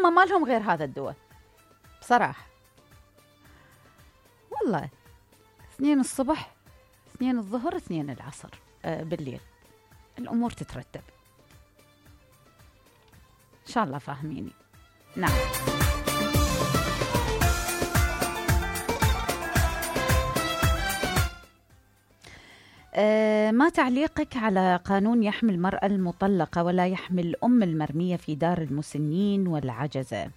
هم ما لهم غير هذا الدواء بصراحة. والله 2 الصبح 2 الظهر 2 العصر بالليل الأمور تترتب. إن شاء الله فاهميني. نعم. ما تعليقك على قانون يحمي المرأة المطلقة ولا يحمي الأم المرمية في دار المسنين والعجزة؟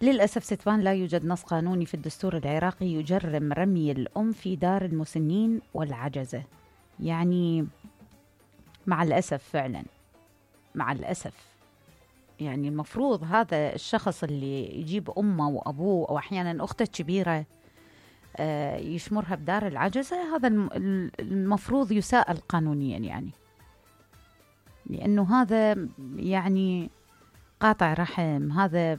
للأسف ستبان لا يوجد نص قانوني في الدستور العراقي يجرم رمي الأم في دار المسنين والعجزة. يعني مع الأسف فعلا مع الأسف، يعني المفروض هذا الشخص اللي يجيب أمه وأبوه أو أحيانا أخته الكبيرة يشمرها بدار العجزة، هذا المفروض يساءل قانونيا، يعني لأنه هذا يعني قاطع رحم، هذا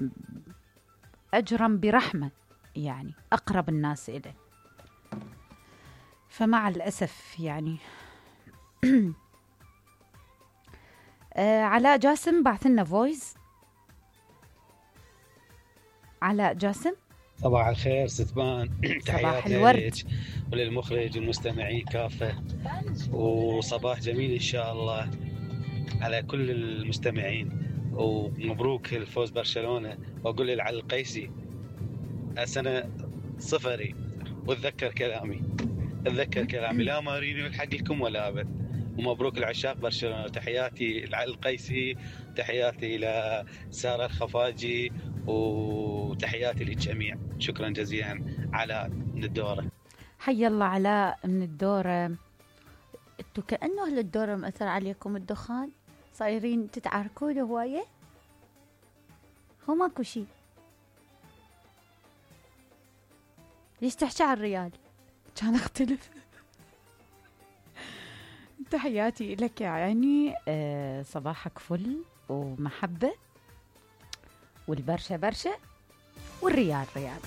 أجرم برحمة، يعني أقرب الناس إليه. فمع الأسف يعني علاء جاسم بعث لنا فويس. علاء جاسم، صباح الخير ستبان. تحياتنا لك وللمخرج والمستمعين كافة، وصباح جميل إن شاء الله على كل المستمعين، ومبروك الفوز برشلونة. وأقول للعلي القيسي السنة صفري، واتذكر كلامي لا مارينيو يلحق لكم ولا أبد. ومبروك العشاق برشلونة. تحياتي لعلي القيسي، تحياتي لسارة الخفاجي، وتحياتي للجميع. شكرا جزيلا. علاء من الدورة. حي الله علاء من الدورة. انتو كأنه أهل الدورة مأثر عليكم الدخان، صايرين تتعاركون هواية. هو ماكو شي، ليش تحكي على الريال؟ كان اختلف. تحياتي لك يا عيني. صباحك فل ومحبة، والبرشا برشا، والريال ريال.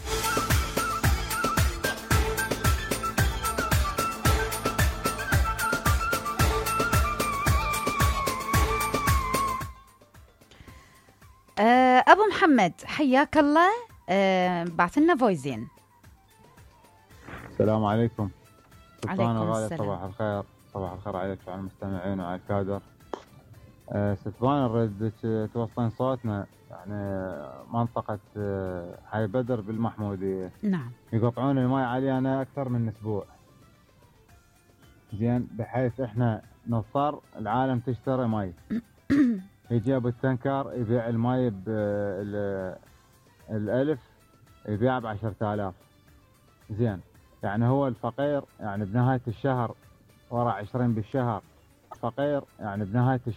أبو محمد حياك الله. بعث لنا فويزين. السلام عليكم. عليكم السلام. صباح الخير. صباح الخير عليك وعلى المستمعين وعلى الكادر. ستبان نريد توصلين صوتنا، يعني منطقة حي بدر بالمحمودية. نعم. يقطعون الماء علينا أكثر من أسبوع، زين، بحيث إحنا نضطر العالم تشتري ماء. يجيب التنكر يبيع الماء ب1000، يبيع ب10,000. زين، يعني هو الفقير يعني بنهاية الشهر ورا 20 بالشهر فقير، يعني بنهاية